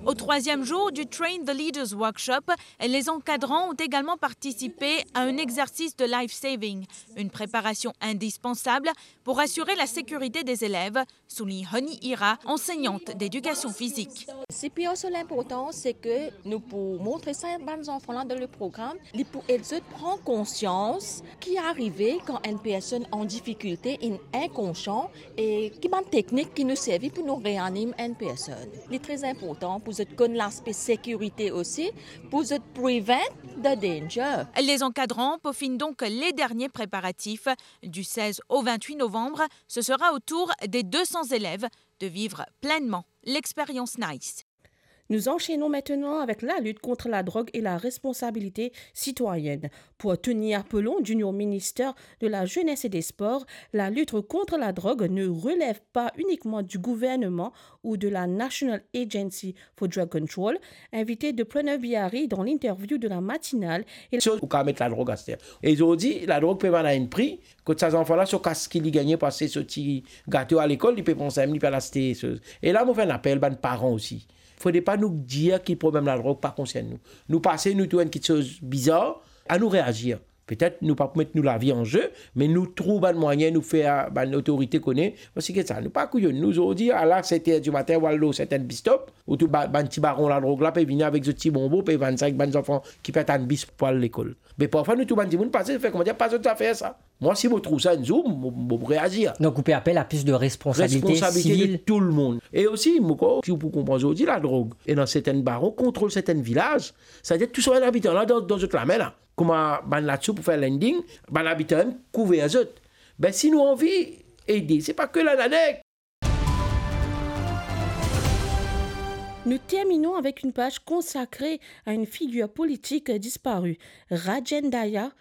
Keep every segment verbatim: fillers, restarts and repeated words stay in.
Au troisième jour du Train the Leaders Workshop, les encadrants ont également participé à un exercice de life saving, une préparation indispensable pour assurer la sécurité des élèves, souligne Honey Ira, enseignante d'éducation physique. Sipi osi linportan, se ke nou pou montre sa bann zanfan la dan le program, li pou ed zot pran konsians ki arive kan enn personn an difikilte, inn inkonsian, e ki bann teknik ki nou servi pou nou reanim enn personn. Li tre inportan pou zot konn laspe sekirite osi, pou zot prevent the danger. Les encadrants peaufinent donc les derniers préparatifs. Du seize au vingt-huit novembre, ce sera au tour des deux cents élèves de vivre pleinement l'expérience NICE. Nous enchaînons maintenant avec la lutte contre la drogue et la responsabilité citoyenne. Pour Tony Apollon, Junior Minister de la Jeunesse et des Sports, la lutte contre la drogue ne relève pas uniquement du gouvernement ou de la National Agency for Drug Control, invité de Pranav Bihari dans l'interview de la matinale. E so, ou kapav met ladrog aster. E zordi, ladrog pe vann a enn pri, kot sa zanfan la, so kas ki li gagne pou aste so ti gato a lekol, li pe pran sa mem, li pe al aste so. E la, mo fer enn apel bann paran osi. Fode pa nou dir ki problem ladrog pa konsern nou. Nou pase, nou trouv enn kitsoz bizar, anou reazir. Petet nou pa pou met nou lavi an ze, me nou trouv bann mwayin, nou fer bann otorite kone, parski sa, nou pa kouyonn. Nou zordi, ala set er di matin, ou al lor sertin bis stop, ou trouv ba-, bann ti baron ladrog la pe vini avek zot ti bonbon, pe vann sa ek bann zanfan ki pe atann bis pou al lekol. Me parfwa nou trouv bann dimoun pase, fer koumadir pa zot zafer sa. Mwa, si mo trouv sa enn zour, mo, mo pou reazir. Donc, ou pe apel a plus de responsabilité civile. Responsabilité de tou lemonn. E osi, mo krwar ki ou pou konpran zordi, ladrog, ena sertin baron kontrol sertin vilaz, setadir tou sa bann abitan la dan, dan zot lame la. Kouma bann latsou pou fer lending, bann abitan mem kouver zot. Be, si nou anvi ede, se pa ke Lananeg. Nous terminons avec une page consacrée à une figure politique disparue. Rajen Dayala,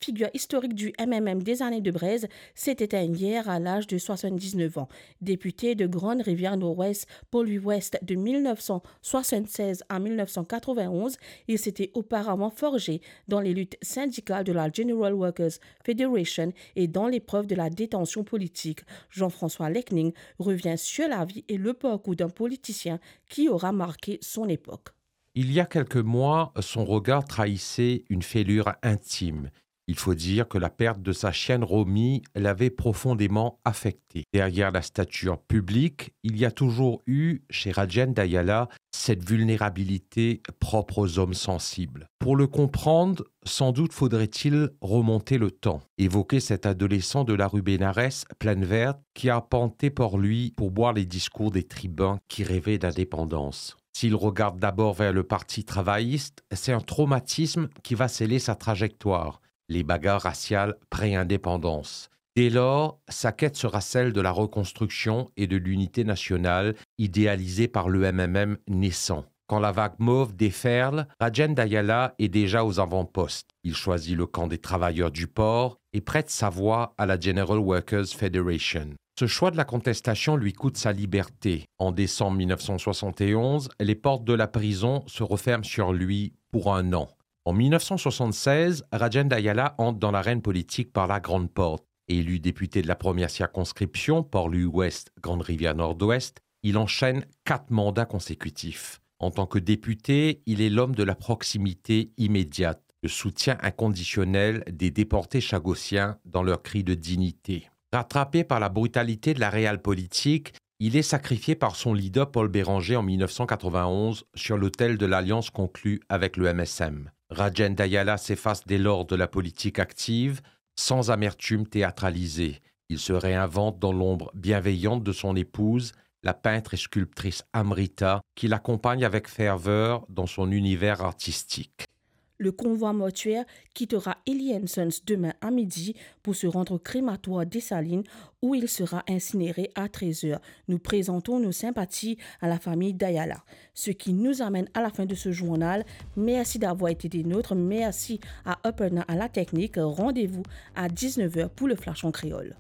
figure historique du M M M des années de braise, s'est éteint hier à l'âge de soixante-dix-neuf ans. Député de Grande-Rivière-Nord-Ouest, Port-Louis-Ouest de mille neuf cent soixante-seize à mille neuf cent quatre-vingt-onze, il s'était auparavant forgé dans les luttes syndicales de la General Workers Federation et dans l'épreuve de la détention politique. Jean-François Lekning revient sur la vie et le parcours d'un politicien qui aura marqué son époque. Il y a quelques mois, son regard trahissait une fêlure intime. Il faut dire que la perte de sa chienne Romy l'avait profondément affecté. Derrière la stature publique, il y a toujours eu, chez Rajen Dayala, cette vulnérabilité propre aux hommes sensibles. Pour le comprendre, sans doute faudrait-il remonter le temps, évoquer cet adolescent de la rue Bénarès, Plaine Verte, qui arpentait Port-Louis pour boire les discours des tribuns qui rêvaient d'indépendance. S'il regarde d'abord vers le Parti travailliste, c'est un traumatisme qui va sceller sa trajectoire, les bagarres raciales pré-indépendance. Dès lors, sa quête sera celle de la reconstruction et de l'unité nationale idéalisée par le M M M naissant. Quand la vague mauve déferle, Rajen Dayala est déjà aux avant-postes. Il choisit le camp des travailleurs du port et prête sa voix à la General Workers Federation. Ce choix de la contestation lui coûte sa liberté. En décembre mille neuf cent soixante et onze, les portes de la prison se referment sur lui pour un an. En mille neuf cent soixante-seize, Rajen Dayala entre dans l'arène politique par la grande porte. Élu député de la première circonscription, Port-Louis-Ouest, Grande-Rivière-Nord-Ouest, il enchaîne quatre mandats consécutifs. En tant que député, il est l'homme de la proximité immédiate, le soutien inconditionnel des déportés chagossiens dans leur cri de dignité. Rattrapé par la brutalité de la réelle politique, il est sacrifié par son leader Paul Bérenger en mille neuf cent quatre-vingt-onze sur l'autel de l'alliance conclue avec le M S M. Rajen Dayala s'efface dès lors de la politique active, sans amertume théâtralisée. Il se réinvente dans l'ombre bienveillante de son épouse, la peintre et sculptrice Amrita, qui l'accompagne avec ferveur dans son univers artistique. Le convoi mortuaire quittera Illy and Sons demain à midi pour se rendre au crématoire Dessalines où il sera incinéré à treize heures. Nous présentons nos sympathies à la famille Dayala. Ce qui nous amène à la fin de ce journal. Merci d'avoir été des nôtres. Merci à Upperna à la technique. Rendez-vous à dix-neuf heures pour le Flash en créole.